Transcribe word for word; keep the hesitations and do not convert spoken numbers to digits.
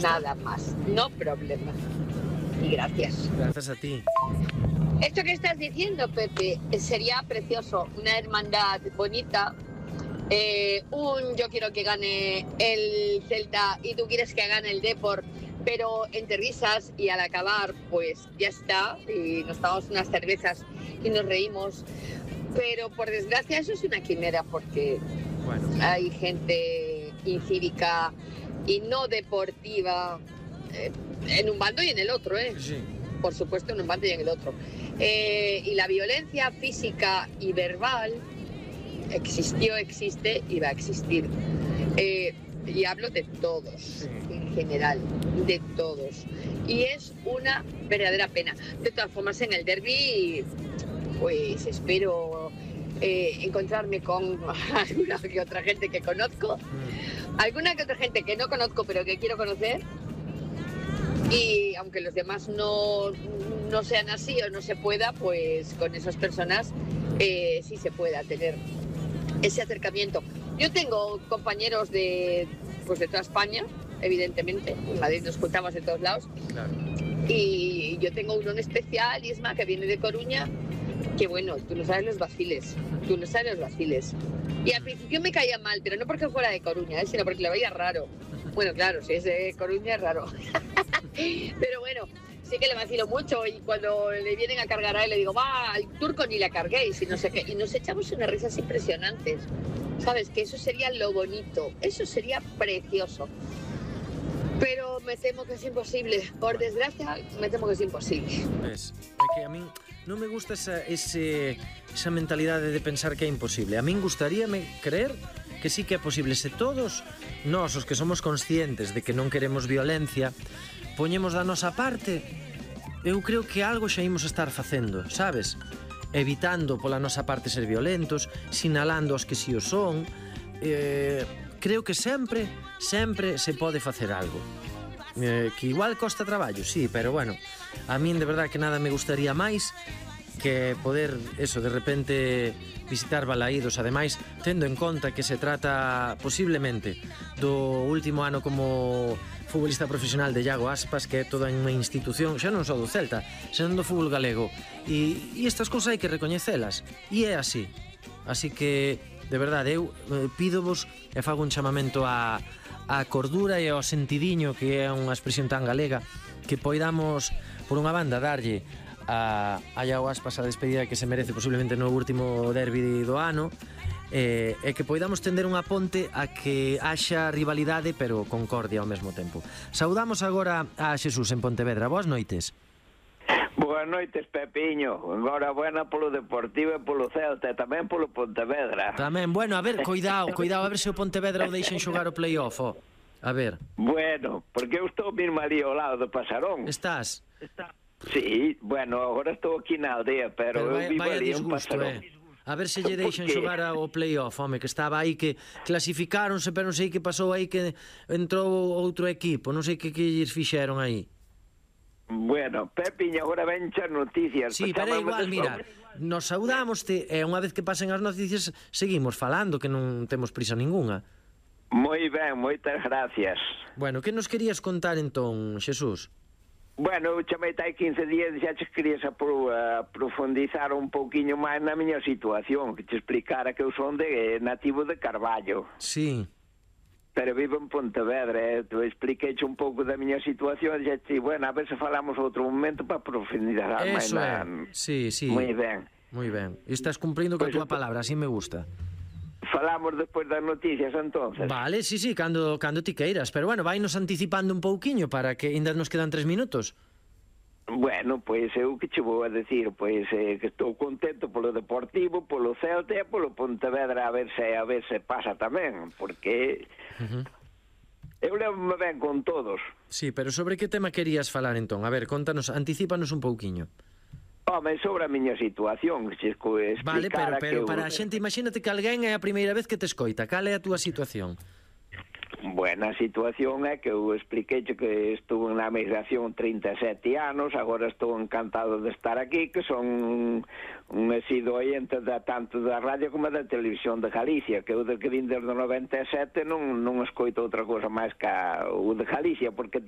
Nada más, no problema. Y gracias. Gracias a ti. Esto que estás diciendo, Pepe, sería precioso. Una hermandad bonita. Eh, un yo quiero que gane el Celta y tú quieres que gane el Depor, pero entre risas y al acabar, pues ya está. Y nos tomamos unas cervezas y nos reímos. Pero por desgracia eso es una quimera porque Bueno. hay gente incívica y no deportiva eh, en un bando y en el otro, ¿eh? Sí. Por supuesto, en un bando y en el otro. Eh, y la violencia física y verbal existió, existe y va a existir. Eh, y hablo de todos, Sí. en general, de todos. Y es una verdadera pena. De todas formas, en el derbi, pues espero eh, encontrarme con alguna que otra gente que conozco, Mm. alguna que otra gente que no conozco pero que quiero conocer. Y aunque los demás no, no sean así o no se pueda, pues con esas personas eh, sí se pueda tener ese acercamiento. Yo tengo compañeros de, pues de toda España, evidentemente. En Madrid nos juntamos de todos lados. Claro. Y yo tengo uno en especial, Isma, que viene de Coruña, que bueno, tú no sabes los vaciles, tú no sabes los vaciles. Y al principio me caía mal, pero no porque fuera de Coruña, ¿eh? Sino porque le veía raro. Bueno, claro, si es de Coruña es raro. Pero bueno, sí que le vacilo mucho y cuando le vienen a cargar a él le digo, va, al turco ni la carguéis y no sé qué. Y nos echamos unas risas impresionantes. ¿Sabes? Que eso sería lo bonito, eso sería precioso. Pero me temo que es imposible. Por desgracia, me temo que es imposible. Ves, é que a min non me gusta esa, ese, esa mentalidade de pensar que é imposible. A min gustaríame creer que sí que é posible. Se todos nós, os que somos conscientes de que non queremos violencia, poñemos da nosa parte, eu creo que algo xa imos estar facendo, sabes? Evitando pola nosa parte ser violentos, sinalando os que si o son. Eh, creo que sempre, sempre se pode facer algo. Eh, que igual costa traballo, sí, pero bueno, a min de verdad que nada me gustaría máis que poder, eso, de repente visitar Balaídos, ademais, tendo en conta que se trata posiblemente do último ano como futbolista profesional de Iago Aspas, que é toda unha institución, xa non só do Celta, senón do fútbol galego, e, e estas cousas hai que recoñecelas, e é así. Así que, de verdade, eu eh, pídovos e fago un chamamento a, a cordura e ao sentidiño, que é unha expresión tan galega, que poidamos, por unha banda, darlle a, a Iago Aspas a despedida que se merece posiblemente no último derbi do ano, e, e que poidamos tender unha ponte a que haxa rivalidade pero concordia ao mesmo tempo. Saudamos agora a Xesús en Pontevedra. Boas noites. Boas noites, Pepiño. Enhorabuena polo Deportivo e polo Celta e tamén polo Pontevedra. Tamén, bueno, a ver, cuidado, cuidado, a ver se o Pontevedra o deixen xogar o play-off, oh. A ver. Bueno, porque eu estou mesmo ali ao lado do Pasarón. Estás? Está. Sí, bueno, agora estou aquí na aldea, pero, Pero eu vai, vivo vai a ali en disgusto, Pasarón. eh. A ver se lle deixan Por qué? xogar ao play-off, home, que estaba aí, que clasificáronse, pero non sei que pasou aí, que entrou outro equipo, non sei que que lles fixeron aí. Bueno, Pepiño, agora ven as noticias. Sí, pero é igual, mira, nos saudámoste e unha vez que pasen as noticias seguimos falando, que non temos prisa ninguna. Moi ben, moitas gracias. Bueno, que nos querías contar entón, Xesús? Bueno, eu chamei hai quince días e xa te querías apro, uh, profundizar un pouquiño máis na miña situación, que te explicara que eu son de nativo de Carballo. Sí. Pero vivo en Pontevedra, eh? Tu expliqueche un pouco da miña situación e xa te, bueno, a ver se falamos outro momento para profundizar máis Eso na... é, sí, sí. Moi ben. Moi ben. Estás cumprindo coa Pois túa eu- palabra, así me gusta. Falamos despois das noticias, entonces. Vale, sí, sí, cando, cando ti queiras. Pero bueno, vainos anticipando un pouquiño para que ainda nos quedan tres minutos. Bueno, pois eu que che vou a decir, pois eh, que estou contento polo Deportivo, polo Celta e polo Pontevedra, a ver se a ver se pasa tamén, porque Uh-huh. eu levo-me ben con todos. Sí, pero sobre que tema querías falar entón? A ver, contanos, anticípanos un pouquiño. Home, sobre a miña situación, que che explicara Vale, pero, pero que eu... para a xente, imagínate que alguén é a primeira vez que te escoita. Cal é a túa situación? Buena situación é que eu expliquei que estuve na migración trinta e sete anos, agora estou encantado de estar aquí, que son un asiduo ointe da, tanto da radio como da televisión de Galicia, que eu de que vim desde o noventa e sete non, non escoito outra cosa máis que o de Galicia, porque